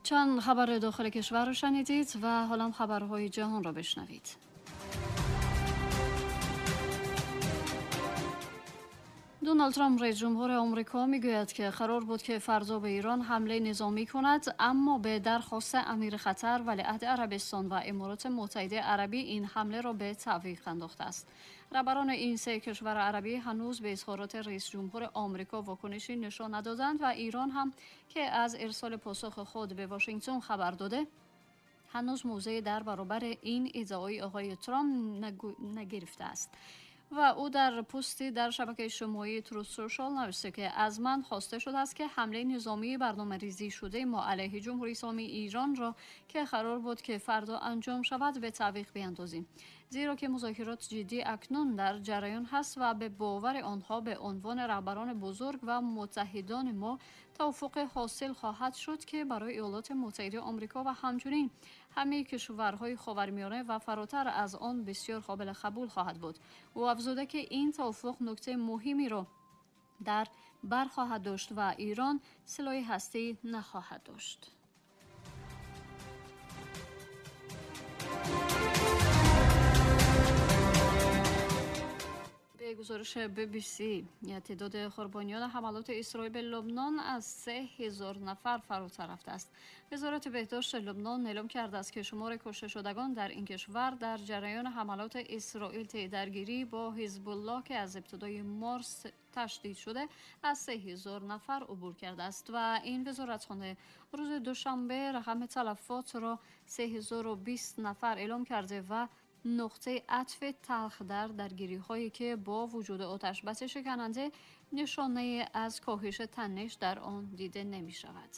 چند خبر داخل کشور رو شنیدید و حالا خبرهای جهان را بشنوید. دونالد ترامپ رئیس جمهور آمریکا میگوید که قرار بود که فردا به ایران حمله نظامی کند، اما به درخواست امیر قطر، ولیعهد عربستان و امارات متحده عربی این حمله را به تعویق انداخته است. رهبران این سه کشور عربی هنوز به اظهارات رئیس جمهور آمریکا واکنشی نشان ندادند و ایران هم که از ارسال پاسخ خود به واشنگتن خبر داده، هنوز موضع در برابر این ادعای آقای ترامپ نگرفته است. و او در پستی در شبکه اجتماعی تروث سوشال نوشته که از من خواسته شده است که حمله نظامی برنامه ریزی شده ما علیه جمهوری اسلامی ایران را که قرار بود که فردا انجام شود به تعویق بیندازیم، زیرا که مذاکرات جدی اکنون در جریان هست و به باور آنها به عنوان رهبران بزرگ و متحدان ما توافق حاصل خواهد شد که برای ایالات متحده آمریکا و همچنین همه کشورهای خاورمیانه و فراتر از آن بسیار قابل قبول خواهد بود. او افزوده که این توافق نکته مهمی را در بر خواهد داشت و ایران سلاح هسته‌ای نخواهد داشت. به گزارش بی بی سی، تعداد قربانیان حملات اسرائیل به لبنان از 3000 نفر فراتر رفته است. وزارت بهداشت لبنان اعلام کرده است که شمار کشته شدگان در این کشور در جریان حملات اسرائیل طی درگیری با حزب الله که از ابتدای مارس تشدید شده از 3000 نفر عبور کرده است و این وزارتخانه روز دوشنبه رقم تلفات را 3020 نفر اعلام کرده و نقطه عطف تلخ در درگیری‌هایی که با وجود آتش‌بس شکننده نشانه از کاهش تنش در آن دیده نمی‌شود.